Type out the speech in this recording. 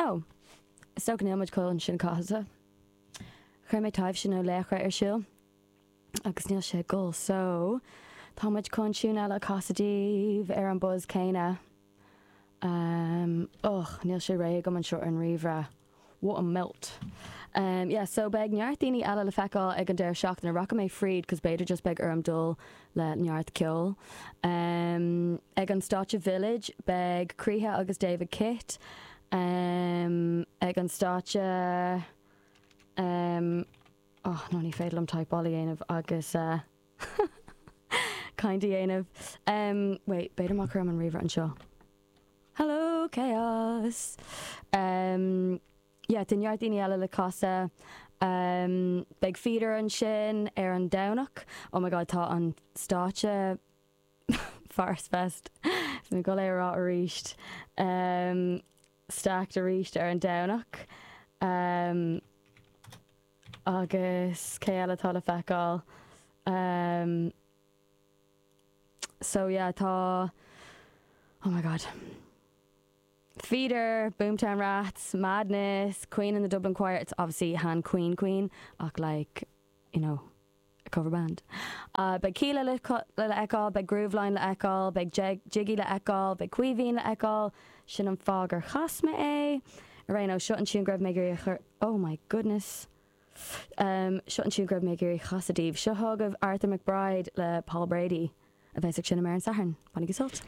Oh, is dócha níl muid chun sin a chasadh. Chuir mé Taibhse nó Laochra ar siúl agus níl sé ag gol so tá muid chun tiún eile a chasadh daoibh ar an buzz céanna. Um, och, níl sé réidh agam anseo ar an ríomhaire. What a melt. Um, yeah, so beidh neart daoine eile le feiceáil ag an deireadh seachtaine. Rachaidh mé fríd cos b'fhéidir just beidh orm dul le neart ceoil. Um, ag an stáitse Village beidh Croíthe agus David Kitt. Um, ag an stáitse um, oh, no, ní féidir liom typeáil a dhéanamh agus uh, caint a dhéanamh. Um, wait, b'fhéidir má chuirim an ríomhaire anseo. Hello chaos! Um, yeah, tá neart daoine eile le casadh. Um, beidh Feeder ansin ar an Domhnach. Oh my god, tá an stáitse Forest Fest. Bhí mé ag dul é a rá arís. Um, stacked arís ar an Domhnach. Um, agus cé eile atá le feiceáil? Um, So yeah, tá, oh my god. Feeder, Boomtown Rats, Madness, Queen and the Dublin Choir, it's obviously chan Queen Queen ach like, you know, a cover band. Uh, beidh Kíla le le feiceáil, beidh Grooveline le feiceáil, beidh Jiggy le feiceáil, beidh Caoimhín le feiceáil, sin an fáth gur chas mé é. Ar aon nós, seo an tiún go raibh mé ag iarraidh a chur, oh my goodness. Seo an tiún go raibh mé ag iarraidh a chasadh daoibh. Seo chugaibh Arthur McBride le Paul Brady, a bheas ag seinm ar an Satharn. Bainigí sult!